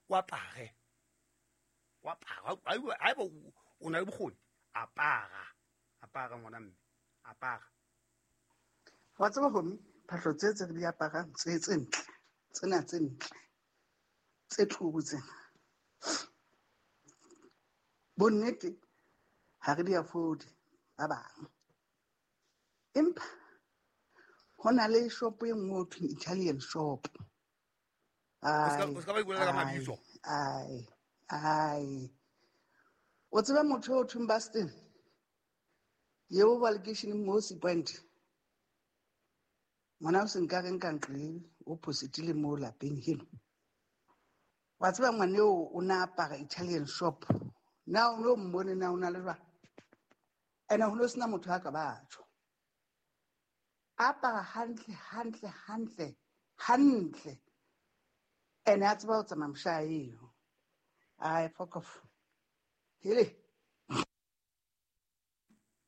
O apare. O apara. Haeba o na le bokgoni, apara. Apara ngwana mme. Apara. Wa tseba homi, phahlo tse tse re di aparang tse tse ntle, tsena tse ntle, tse tlubu tsena. Bonnete ha re di afford ba bang. Empa ho na le shop e nngwe ho thweng Italian shop. O ska ba ipolela ka mabitso. Ai, ai. O tseba motho o thweng Bastin? Yeo ba lekeisheneng mo Sea Point. Ngwana o se nka reng ka ntle o positile mo lapeng heno. Wa tseba ngwane eo o na apara Italian shop. Na o no mmone na o na le jwang? Ene ho no sena motho a ka batho. Apara hantle, hantle, hantle, hantle. Ene a tseba ho tsamaya mosha eo. Ai, fuck off. Hele.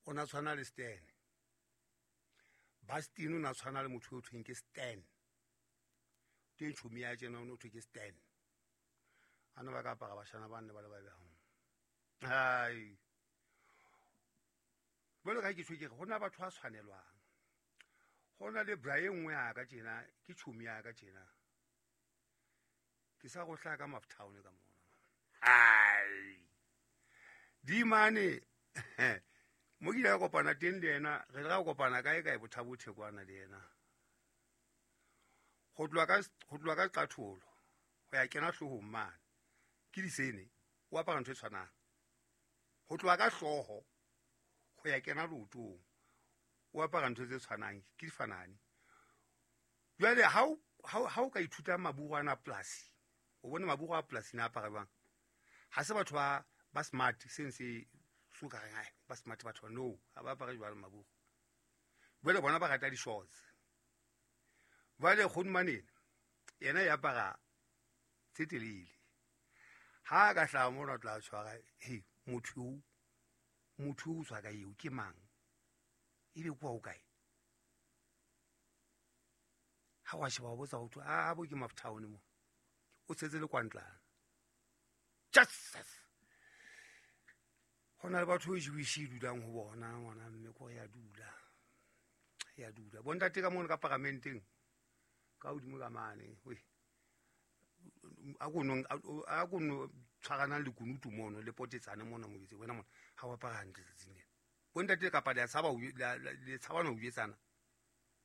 O na tshwana le Stan. Bastin o na tshwana le motho o thweng ke Stan. Teng tjhomi ya tjena o no thwe ke Stan. A no ba ka apara bashana ba nne ba le ba behang. Hai. Jwalo ka ke tjho ke re, ho na batho ba tshwanelwang. Ho na le bra e nngwe ya ka tjena, ke tjhomi ya ka tjena. Ke sa go hlaka Maftown ka mona. Hai. Di mane. Mo ke ile ka kopana teng le yena, re ile ra kopana kae kae Bothabothe kwana le yena. Ho tloha ka qatholo ho ya kena hloohong mane. Ke disene, o apara ntho e tshwanang. Ho tloha ka hlooho ho ya kena leotong, o apara ntho tse tshwanang, ke difanane. Jwale ha o ka ithuta maburu ana polasi, o bone maburu a polasi na apara jwang? Ha se batho ba smart, seng se so ka reng, ai, ba smart batho ba, no, ha ba apare jwalo maburu. Jwale bona ba rata di-shorts. Jwale Kgodumanene yena e apara tse telele. Ha ka hlaha mona o tla tshwara, hei, motho o tswa ka eo ke mang? Ebe kwa o kae? Ha wa sheba wa botsa ho thwe, a bo ke Maftown mo. O tshetse le kwantlana. Jesus! Ho na le batho e Jewish e dulang ho bona ngwana mme ko ya dula. Ya dula. Bontate ka mono ka paramenteng ka hodimo ka mane, we. A ko no tshwaranang le kunutu mono le potetsane mono mo betse wena mona ha wa apara hantle tsatsing lena. Bontate kapa le a tshaba ho le tshaba ho jwetsana.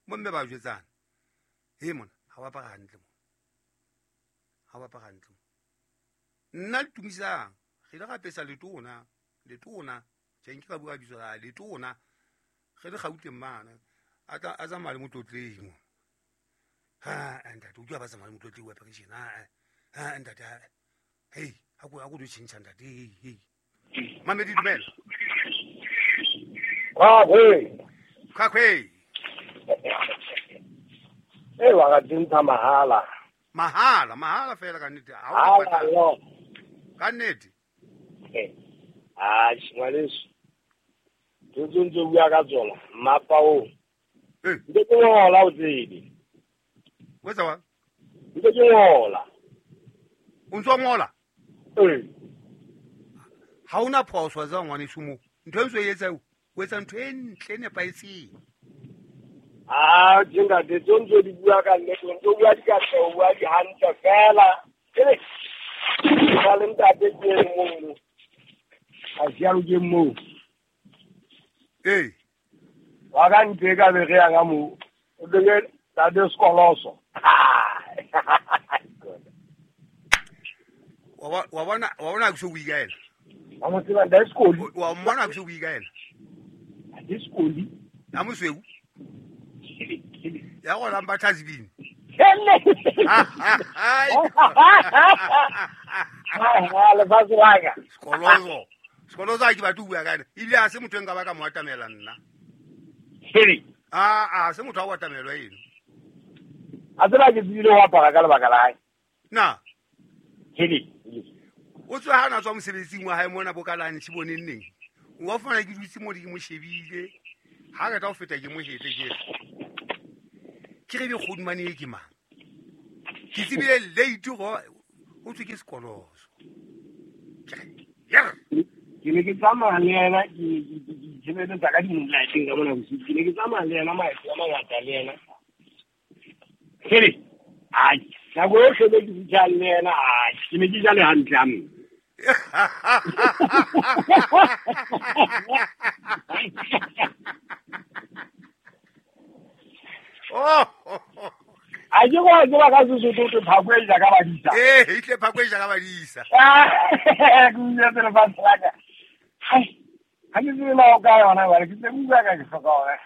Bomme ba jwetsana. He mona ha wa apara hantle mona. Ha wa apara hantle mona. Nna le tumisang re ile ra apesa letona, letona tjhe nke ka bua bitso la letona. Re le Gauteng mane a tla a tsamaya le motlotlehi mo. Ha ntate o tla ba tsamaya le motlotlehi wa pension. Ha ha ntate hey ha go do tjhentjha ntate hey hey. Mamedi dumela. Khakwe. Khakwe. Eh wa ga dintsha mahala. Mahala, mahala fela ka nnete. Ha o patala. Ka nnete. Ah, ngwaneso. Ke ntse bua ka tsona, mmapa o. Ntse ke ngola o tsebe. O etsa wa? Ntse ke ngola. O ntse o ngola? Ee. Ha ona phoso tsa ngwaneso mo. Ntho e ntse e etsa o etsa ntho e ntle e nepahetseng. Ah, ntate tse ntse di bua ka nnete, ntse o bua dikatleho, o bua di hantle fela. Ke ba le ntate ke e mong. A siaro ke moo. Ee. Wa ka ntle ka be re ya ka moo. O tlo tate sekoloso. Wa bona ke so bui ka ena. Wa mo tseba ntate Sekoli. Wa mmona ke so bui ka ena. Ntate Sekoli. Ya mosweu. Ya go lamba tlhatsibini. Lefatshe la ka. Sekoloso. Sekoloso ha ke batle ho bua ka ena. Ebile ha se motho e nka ba ka mo atamela nna. A se motho a o atamelwa eno. A tseba ke tsebile ho apara ka lebaka la hae. Na. O tswa ha na tswa mosebetsing wa hae mona bo ka lunch boneng neng. O wa fumana ke dutse mo di ke mo shebile. Ha ka tla ho feta ke mo hetle ke re. Ke re be Kgodumane e ke mang? Ke tsebile late go Ho thwe ke sekoloso. Ke Ke ne ke tsamaya le yena ke tshebeletsa ka di-moonlighteng ka mona bosiu. Ke ne ke tsamaya le yena maeto a mangata le yena. Hele, ai, nako yohle be ke fihlang le yena, ai, ke ne ke ja le hantle a mme. Oh, A ke go tseba ka Sesotho te phako e ja ka badisa. Eh, ehlile phako e ja ka badisa. Ke utlwetse lefatshe la ka. Hai, ha ke tsebe na o ka yona jwale, ke tse utlwa ka ke hloka hore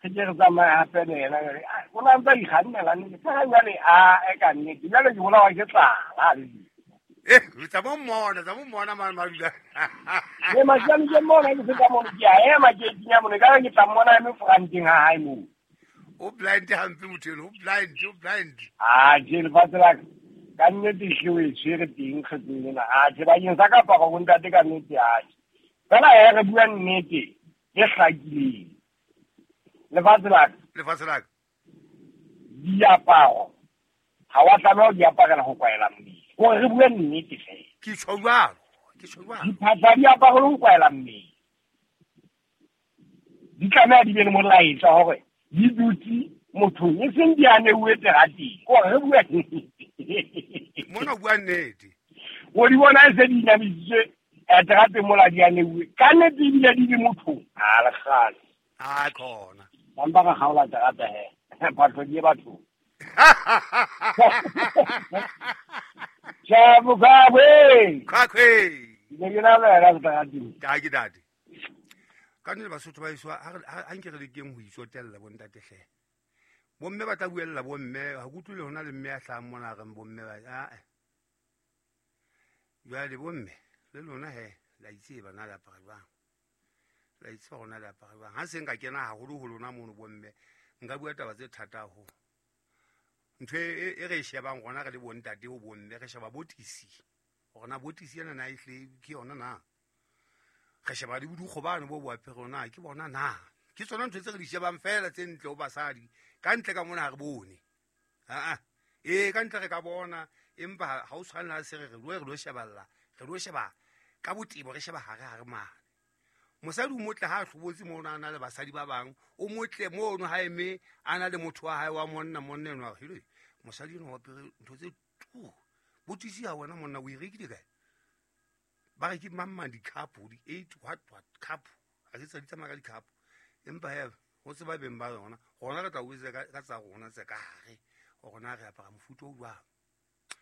re ke re tsamaye hape le yena jwale. O na ntsa ikgannela nnete, fela jwale a e ka nnete, jwale ke bolawa ke tlala le dijo. Eh, tsa mo mmona, tsa mo mmona mane madula. Le matsane ke mmona ke feta mono, ke a ema ke tinya mono, ekare ke tla mmona a eme foranteng ha hae moo. O blind hampe motho eno, o blind, o blind. Ah, tjhe, lefatshe la ka, ka nnete ehlile o e tshwere teng kgetsong ena. Ah, tjhe, bakeng sa kaparo bo ntate ka nnete, ah, tjhe. Fela he re bua nnete e hlakileng. Lefatshe la ka. Lefatshe la ka. Diaparo ha wa tlameha ho di aparela ho kwaela mmele. Hore re bue nnete fela. Ke tjho jwalo, ke tjho jwalo. Diphahlo ha di aparelwe ho kwaela mmele. Di tlameha di be le molaetsa hore di dutse mothong, e seng di aneuwe terateng. Hore re bue nnete. Mona o bua nnete. O di bona e se di inamisitswe terateng mola di aneuwe. Ka nnete ebile di le mothong. Ha le kgale. Ha khona. Ba mpa ra kgaola terata he. Phahlo di ye bathong. Tjhe, Mokgwabwe. Khwakhwe. Ne ke na le wena seterateng. Ka ke date. Ka nnete Basotho ba heso, ha nke re lekeng ho itsotella bo ntate hle. Bomme ba tla buella bomme, ha ke utlwile hona le mme ya hlahang mona a reng bomme ba, ah, eh. Jwale bomme le lona he, la itseba na le apara jwang. La itseba hore na le apara jwang. Ha se nka kena haholo ho lona mono bomme, nka bua taba tse thata haholo. Ntho e re e shebang rona re le bontate ho bomme, re sheba botisi. Hore na botisi ena na ehlile ke yona na. Re sheba le bodukgo bano bo bo apere na ke bona na. Ke tsona ntho tse re di shebang fela tse ntle ho basadi. Ka ntle ka mona ha re bone. Ah, ah. Ee, ka ntle re ka bona, empa ha o tshwane le ha se re re lo re lo sheballa, re lo sheba ka botebo, re sheba hare hare mane. Mosadi o motle ha a hlobotse mono a na le basadi ba bang, o motle mono ha eme a na le motho wa hae wa monna, monna enwa a re, hele, mosadi enwa o apere ntho tse tu. Botisi ha wena monna o e rekile kae? Ba re ke mang mang di-cup, di-eight what what cup. Ha se tsa di tsamaya ka di-cup. Empa he, ho tseba beng ba yona. Rona re tla o etsa ka tsa rona tse ka hare. Hore na re apara mofuta o jwang.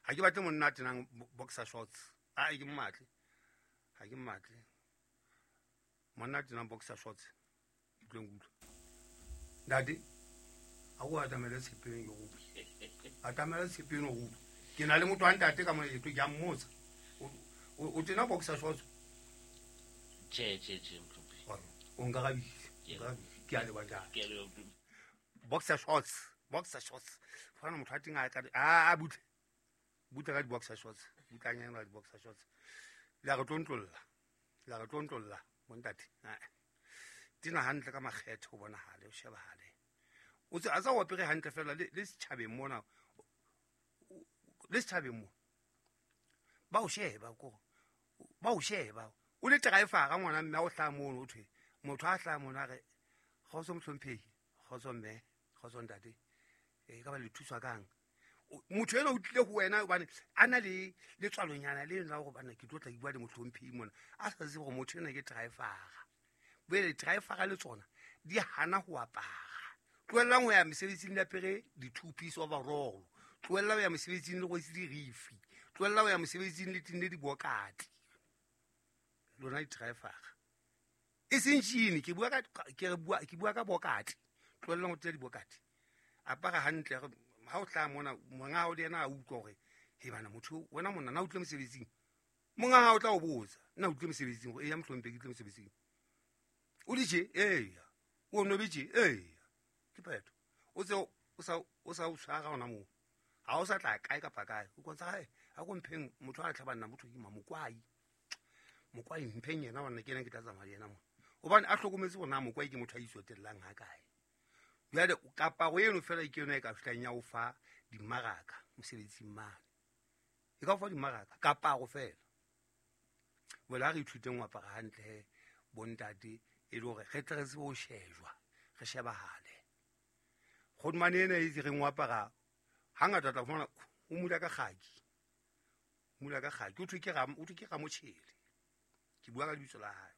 Ha ke batle monna a tenang boxer shorts. Ah, ke mmatle. Ha ke mmatle. Monna a tenang boxer shorts. Ke utlwe nkutlwe. Ntate, ha o atamele tshepeng ke go. Atamele tshepeng o utlwe. Ke na le motho wa ntate ka mona ke a mmotsa. O tena boxer shorts? Tjhe, tjhe, tjhe, mohlomphehi. O nkarabise. Ke a leboha ntate. Ke a leboha, mohlomphehi. Boxer shorts, boxer shorts. Fana motho a teng a ka a butle. Butle ka di-boxer shorts. Butlanyana ka di-boxer shorts. Le a re tlontlolla. Le a re tlontlolla, bontate. Ah. Tena hantle ka makgethe ho bonahale, ho shebahale. O tse a tsa o apere hantle fela le setjhabeng mona. Le setjhabeng mona. Ba o sheba ko. Ba o sheba. O le driver ngwana mme a o hlaha mono o thwe. Motho a hlaha mono a re, kgotso mohlomphehi, kgotso mme, kgotso ntate. E ka ba le thuswa kang? Motho enwa o tlile ho wena hobane a na le letswalonyana le la hore bana ke tlo tla bua le mohlomphehi mona. A sa tsebe hore motho enwa ke driver. Bjale driver le tsona di hana ho apara. Tlohellang ho ya mesebetsing le apere di-two piece overall. Tlohellang ho ya mesebetsing le rwetse dirifi. Tlohellang ho ya mesebetsing le tenne dibokati. Lona di-driver. E seng jean, ke bua ka, ke re bua, ke bua ka bokati. Tlohellang ho tena dibokati. Apara hantle, ha o hlaha mona, monga hao le yena a utlwa hore, he bana, motho, wena monna, na o tlile mosebetsing? Monga hao o tla o botsa, na o tlile mosebetsing? Hore, eya, mohlomphehi, ke tlile mosebetsing. O di tje? Eya. O nobe tje? Eya. Ke phetho. O tse o sa o tshwara hona moo. Ha o sa tla kae kapa kae. O kotsa hae, ha ko mpheng motho a tlhabanna motho ke ma mokwai. Mokwai mpheng yena hobane ke yena ke tla tsamaya le yena mona. Hobane a hlokometse hore na mokwai ke motho a itsotellang ha kae. Jwale kaparo eno fela ke yona e ka fihlang ya o fa dimmaraka mosebetsing mane. E ka o fa dimaraka kaparo fela. Jwale ha re ithuteng ho apara hantle he bontate, e le hore re tle re tsebe ho shejwa, re shebahale. Kgodumane ena e reng o apara hangata o tla fumana o mula ka kgaki. Mula ka kgaki. O thwe ke Ramotjhele. Ke bua ka lebitso la hae.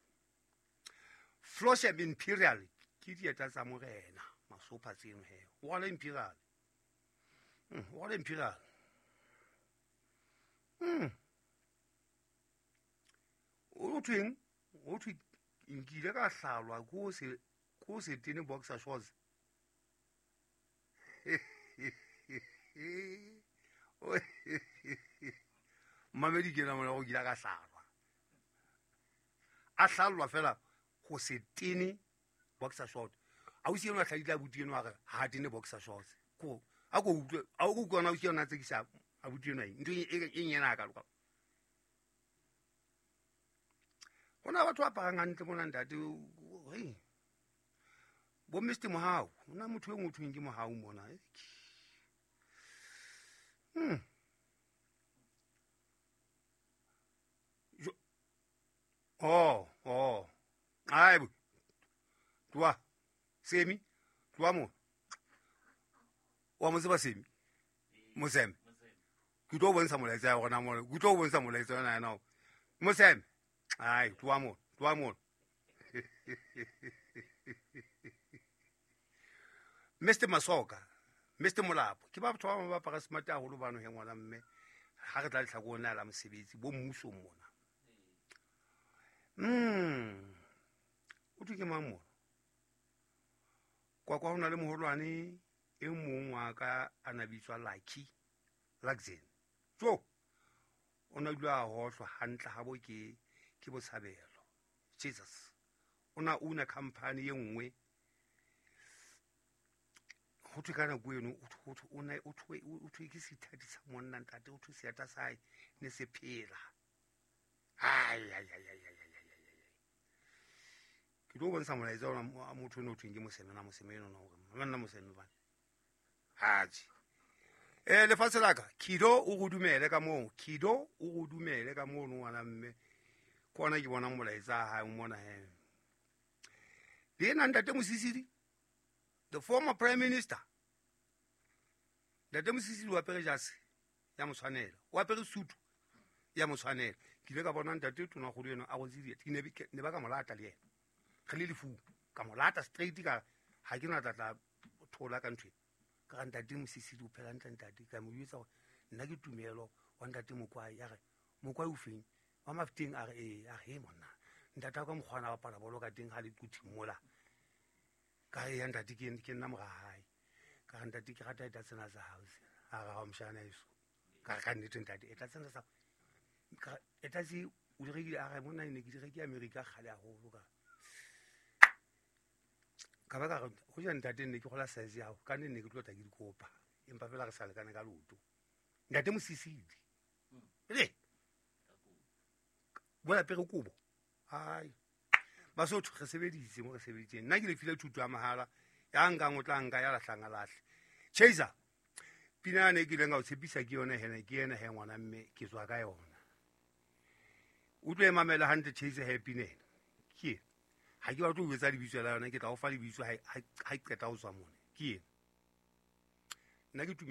Flosham Imperial ke dieta tsa morena, masopha tseno he. O rwala Imperial. O rwala Imperial. O thweng? O thwe nkile ka hlalwa ko se tene boxer shorts. Mamedi ke na mona go kile ka hlalwa. A hlalwa fela go se tene boxer short. A o siena hladile abuti eno a re ha tene boxer shorts. Ko a go utlwe a go utlwa na o siena tsekisa abuti eno eng ntho e nyena ka loka. Hona batho ba aparang hantle mona ntate, hey. Bo Mr. Mohau, hona motho e motho ke Mohau mona. Oh. Ai bo. Tloha. Semi, tloha mo. Wa mo tseba Semi? Moseme. Ke tlo bontsha molaetsa ya rona mona. Ke tlo bontsha molaetsa yona ena. Moseme. Ai, tloha mo, tloha mo. Mr. Masoka, Mr. Molapo, ke ba batho ba bang ba apara smart haholo bano he ngwana mme. Ha re tla lehlakoreng la mosebetsi bo mmusong mona. O thwe ke mang mona? Kwa kwa ho na le moholwane e mong wa ka a na bitswa Lucky Luxen. Jo, o na dula a hohlwa hantle habo ke Botshabelo. Jesus. O na una company e nngwe. Ho thwe ka nako eno, o thwe ke sethati sa monna ntate, o thwe seata sa hae ne se phela. Ai. Ke tlo bontsha molaetsa ona motho eno o thweng ke Moseme na Moseme eno na hore monna Moseme bana. Haji. Lefatshe la ka, Kido o go dumele ka moo, Kido o go dumele ka moo ngwana mme. Ke ona ke bona molaetsa ha mona he. Le ena ntate Mosisili, the former prime minister. Ntate Mosisili o apere jase ya motshwanela, o apere sutu ya motshwanela. Ke ile ka bona ntate tona kgolo eno a rotse dieta, ne ba ka mo lata le yena. Re le lefu, ka mo lata straight ka ha ke na tla thola ka ntho e. Ka re ntate Mosisili o phela hantle ntate, ka mo jwetsa hore nna ke tumelo wa ntate Mokwai, a re Mokwai o feng? Wa Mafeteng a re ee, a re he monna. Ntate wa ka mokgwa a bapala bolo ka teng ha le quthing mola. Ka re ya ntate ke nna mora hae. Ka re ntate ke rata eta tsena tsa hao. A re ha o moshana eso. Ka re ka nnete ntate eta tsena tsa ka eta tse o di rekile, a re monna ne ke di rekile America kgale haholo ka. Ka ba ka re ho ja ntate ne ke gola size ya hao, ka nne ne ke tlo tla ke dikopa. Empa fela re sa lekane ka leoto. Ntate Mosisili. Re. Bona pere kobo. Ai. Basotho re sebeditse mo re sebeditseng. Nna ke le file thuto ya mahala. Ya nkang o tla nka ya lahlanga lahle. Chaser. Pina ne ke ileng ka o tshepisa ke yona hena, ke yena he ngwana mme ke tswa ka yona. O tlo e mamela hantle Chaser he pina ena. Ke ena. Ha ke batle ho etsa lebitso la yona, ke tla o fa lebitso ha qeta ho tswa mona. Ke ena. Nna ke